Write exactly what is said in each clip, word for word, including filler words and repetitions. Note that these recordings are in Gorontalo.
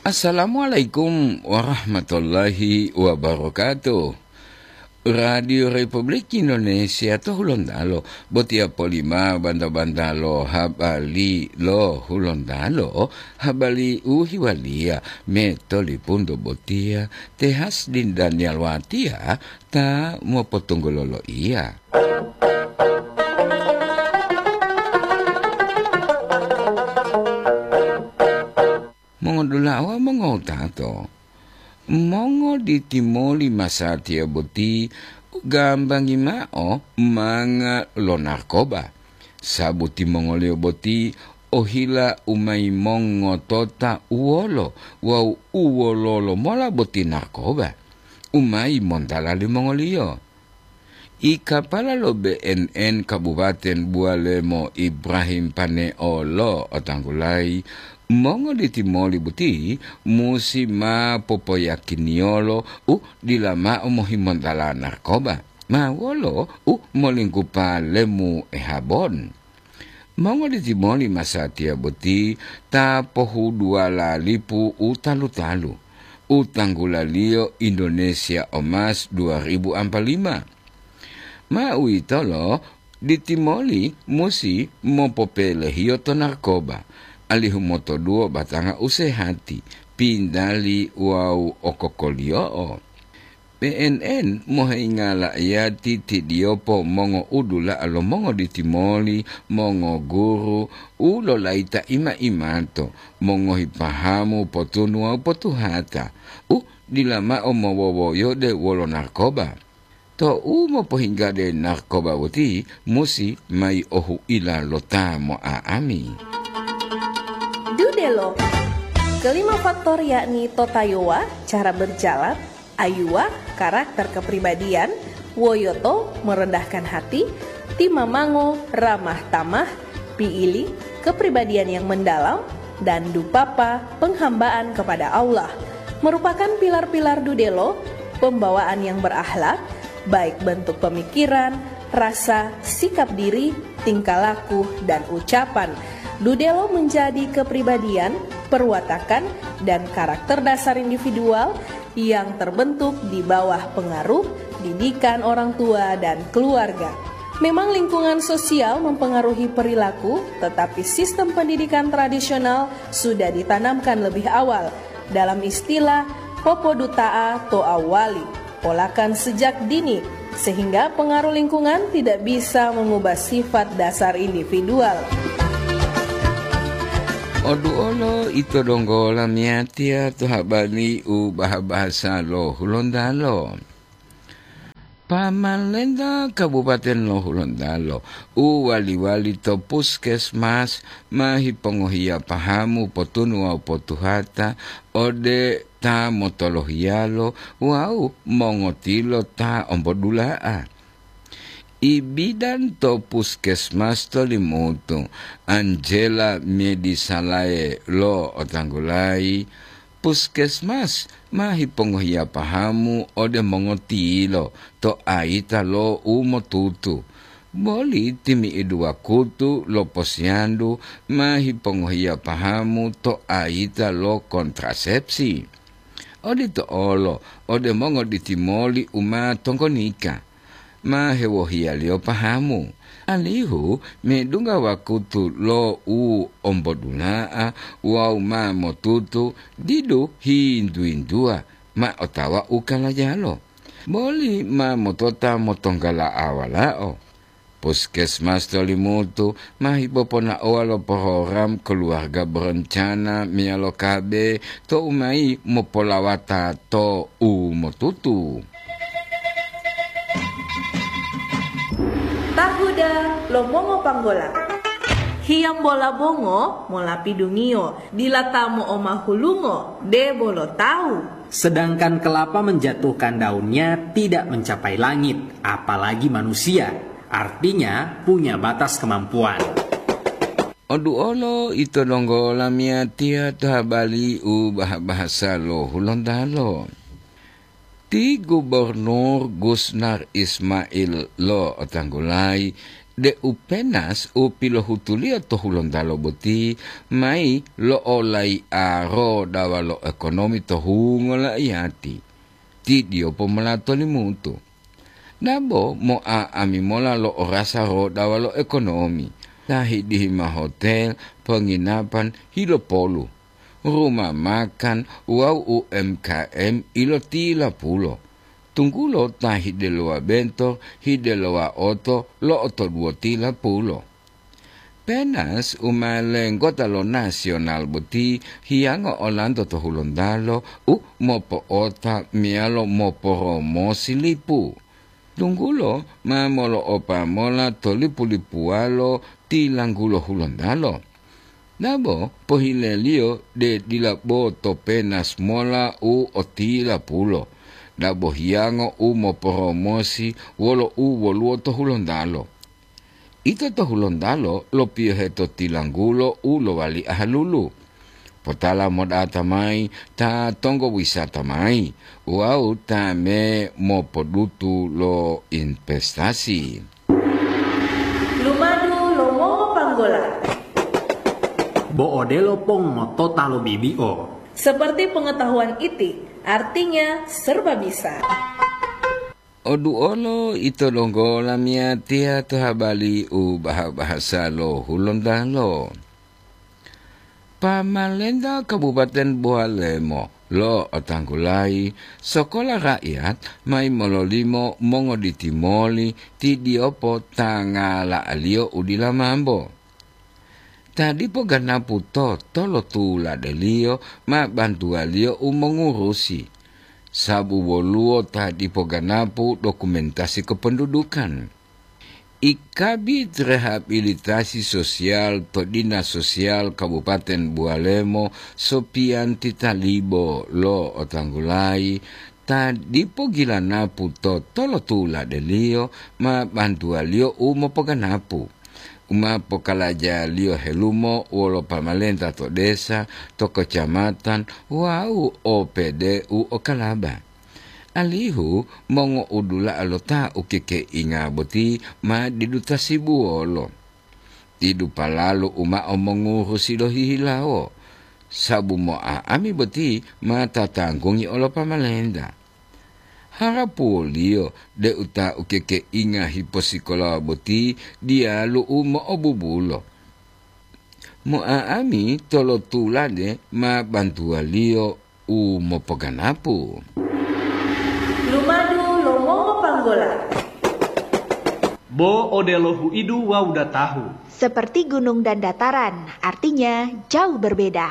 Assalamualaikum warahmatullahi wabarakatuh. Radio Republik Indonesia to Hulontalo, botiya polima banta-banta lo habari lo Hulontalo, habari u hiwaliya me tolipunto botiya, Tehas din Daniel Watia ta mopotunggulo loiya. Mongodula'a wawu mongowutato, mongoditimoli masatiya boti u gambangi mao manga lo narkoba, sabu timongoliyo boti ohila u ma yimongotota uwolo wawu u wololo mola boti narkoba u ma yimontala limongoliyo. Ikapala lo B N N Kabupaten Bualemo Ibrahim Paneo lo otanggulayi, mongoditimoli boti musi ma popoyakiniyolo u dila mao mohimontala narkoba, ma wolo u molinggupa lemu ehabon. Mongoditimoli masatiya boti ta pohuduwala lipu u talu-talu, u tanggulaliyo Indonesia Emas dua ribu ampa lima. Ma uwitolo, ditimoli musi mopopelehiyo to narkoba, alihu motoduwo batanga u sehati, pintali wawu okokoliyo'o. P N N moheyinga la'iyati tidiyopo mongoudula'a lo mongoditimoli, mongoguru u lolayita ima-imato, mongohi pahamu potunu wawu potuhata, u dila mao mowowoyode wolo narkoba. Tou mopohinggade narkoba boti musi mayi ohuila lo ta mo'a'ami. Dudelo. Kelima faktor yakni totayowa, cara berjalan, ayuwa, karakter kepribadian, woyoto, merendahkan hati, timamango, ramah tamah, piili, kepribadian yang mendalam, dan dupapa, penghambaan kepada Allah, merupakan pilar-pilar dudelo, pembawaan yang berakhlak, baik bentuk pemikiran, rasa, sikap diri, tingkah laku, dan ucapan. Dudelo menjadi kepribadian, perwatakan, dan karakter dasar individual yang terbentuk di bawah pengaruh didikan orang tua dan keluarga. Memang lingkungan sosial mempengaruhi perilaku, tetapi sistem pendidikan tradisional sudah ditanamkan lebih awal. Dalam istilah, popoduta'a to awali, polakan sejak dini, sehingga pengaruh lingkungan tidak bisa mengubah sifat dasar individual. Oduolo ito donggo lamiyatiya to habari u baha-bahasa lo Hulontalo. Pamalenta Kabupaten lo Hulontalo u wali-wali to puskesmas ma hipongohiya pahamu potunu wawu potuhata ode ta motolohiyalo wawu mongotilo ta ombodula'a. Ibidan to puskesmas to Limutu, Angela Medisalae lo otanggulayi, puskesmas ma hipongohiya pahamu ode mongotilo to ayita lo u motutu. Boli timi'idu wakutu lo posiyandu ma hipongohiya pahamu to ayita lo kontrasepsi. Odito olo ode mongoditimoli u ma tonggonika, ma hewohiyaliyo pahamu, alihu medungga wakutu lo u ombodula'a wawu ma motutu didu hintu-hintuwa ma otawa u kalajalo, boli ma motota motonggala'a walao. Puskesmas to Limutu ma hipoponaowa lo program Keluarga Berencana meyalo K B tou mayi mopolawata to u motutu. Tahuda lo mongo panggola. Hiyambola bongo mola pidungiyo, dila ta mo'omahulungo, debo lo tawu. Sedangkan kelapa menjatuhkan daunnya tidak mencapai langit, apalagi manusia. Artinya, punya batas kemampuan. Oduolo ito donggo lamiyatiya to habari u bah-bahasa lo Hulontalo. Ti Gubernur Gusnar Ismail lo otanggulayi deu penas u pilohutuliyo to Hulontalo boti mayi lo'olai'aro dawa lo ekonomi to hungo laiyati. Tidiyo pomolato limutu. Dabo mo'a'ami mola lo orasa rodawa lo ekonomi, ta hidihi ma hotel, penginapan, hilopolu, rumah makan wawu U M K M ilotilapulo, tunggulo ta hidelowa bento, hidelowa oto lo'otoduwotilapulo. Penas u ma lenggota lo nasional boti hiyango olanto to Hulontalo u mopo'ota meyalo moporomosi lipu. Tunggulo ma molo'opa mola to lipu-lipuwalo tilanggulo Hulontalo. Dabo pohileliyo de dila bo to penas mola u otilapulo, dabo hiyango u moporomosi wolo u woluwo to Hulontalo. Ito to Hulontalo lopiyohe to tilanggulo u lowali ahalulu. Potala modata mayi ta tonggo wisata mayi wawu ta me mopodutu lo investasi. Lumadu lo mongopanggola. Bo odelo pong motota lo bibi'o. Seperti pengetahuan iti, artinya serba bisa. Oduolo ito donggo lamiyatiya to habali u baha-bahasa lo Hulontalo. Pamalenta Kabupaten Bowalemo lo'otanggulayi sokola raiyat mayi mololimo mongoditi moli tidiyopo ta ngala'aliyo u dila mambo. Ta dipo ganapu to tolotuladeliyo ma bantuwaliyo u mongurusi, sabu woluwo ta dipo ganapu dokumentasi kependudukan. I Kabid Rehabilitasi Sosial to Dinas Sosial Kabupaten Bowalemo, Sopiyanti Talibo lo'otanggulayi, ta dipo gilanapu to tolotuladeliyo ma bantuwaliyo u mopoganapu, u ma pokalajaliyo helumo wolo pamalenta to desa, to kecamatan wawu O P D u okalaba, alihu mongo'udula'a lo ta ukekeinga boti ma didu tasibuwolo. Didu palalu u mao mongurusi lohihilawo, sabu mo'a'ami boti ma tatanggungi olo pamalenta. Harapuwoliyo deu ta ukekeinga hiposikolawa boti diyalu u mo'obubulo. Mo'a'ami tolotulade ma bantuwaliyo u mopoganapu. Lumadu lo mongopanggola. Bo odelo huidu wawu datahu. Seperti gunung dan dataran, artinya jauh berbeda.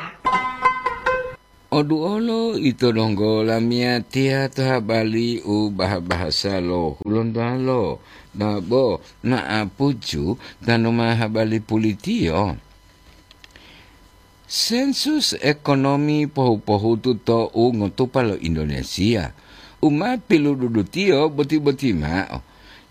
Oduolo ito donggo lamiyatiya to habali u baha-bahasa lo Hulontalo, dabo na'apuju tanu ma habali pulitiyo. Sensus ekonomi pohu-pohutu to u ngotupa lo Indonesia, u ma pilududutiyo boti-boti mao.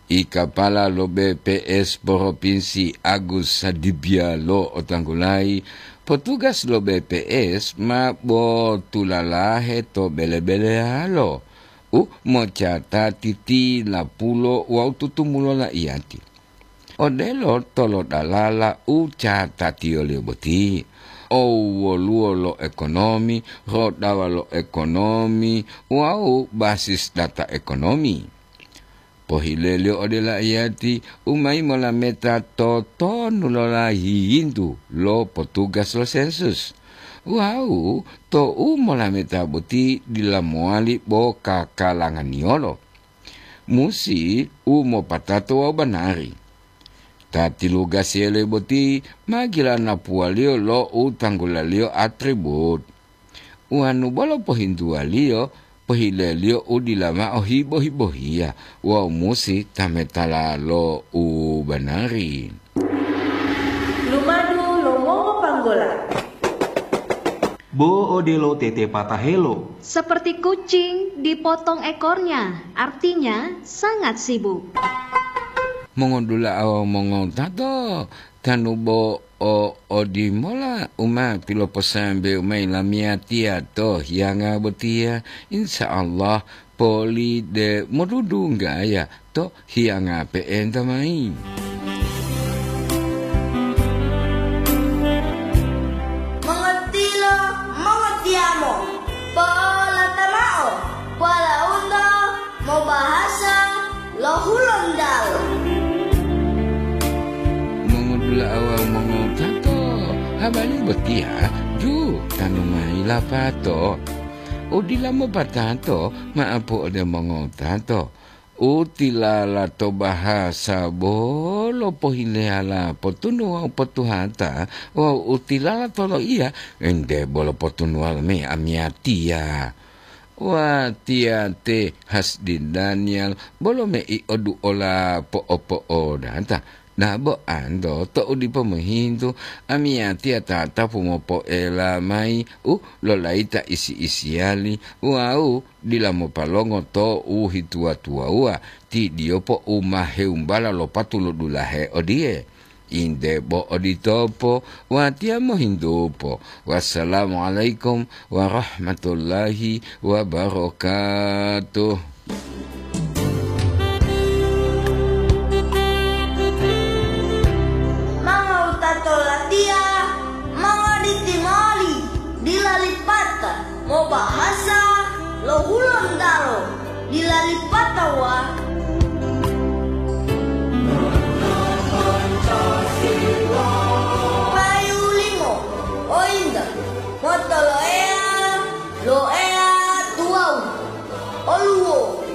I kapala lo B P S Provinsi Agus Sadibia lo'otanggulayi, potugas lo B P S ma botulalahe to bele-beleyalo u mocatati tilapulo wawu tutumulo laiyati. Odelo tolodalala u catatiyoliyo boti, owoluwo lo ekonomi, rodawa lo ekonomi, wawu basis data ekonomi. Pohileliyo ode laiyati u mayi molameta totonu lo layiyintu lo potugas lo sensus. Wawu tou molameta boti dila mowali bo kakalanganiyolo. Musi u mopatato wawu banari. Ta tilugasiyele boti ma gilanapuwaliyo lo u tanggulaliyo atribut. Wanu bolo pohintuwaliyo, pohileliyo u dila mao hibo-hibohiya wawu musi tametala lo u banari. Lumadu lo mongopanggola. Bo odelo tetepatahelo. Seperti kucing dipotong ekornya, artinya sangat sibuk. Mongodula'a wawu mongotato, tanu bo o odimola u ma piloposambewu mayi lamiyatiya to hiyanga botiya, insya Allah poli de modudunggaya to hiyanga pe'enta mayi. Walaundo mobahasa lo Hulontalo. Mongodula'a wawu mongotato, habari botiya ju tanu mayi lapato. Udila mopatato ma'apu ode mongotato. U tilala to bahasa bolo pohileyala potunu wawu potuhata, wawu u tilala to loiya ente bolo potunuwala mayi amiyatiya. Watiya te Hasdi Daniel bolo mei oduola po'opo'odata. Dabo anto to'u dipo mohintu, amiyatiya tatapu mopoela mayi u lolayita isi-isiyali wawu dila mopalongo to u hituwa-tuwawuwa, ti diyopo u ma heumbala lo patu lo dulahe odiye. Inde bo oditopo, watiya mohintupo. Wassalamualaikum warahmatullahi wabarakatuh. Mangowutato latiya, mongoditi moli, dila lipata mobahasa lo Hulontalo, dila lipata wa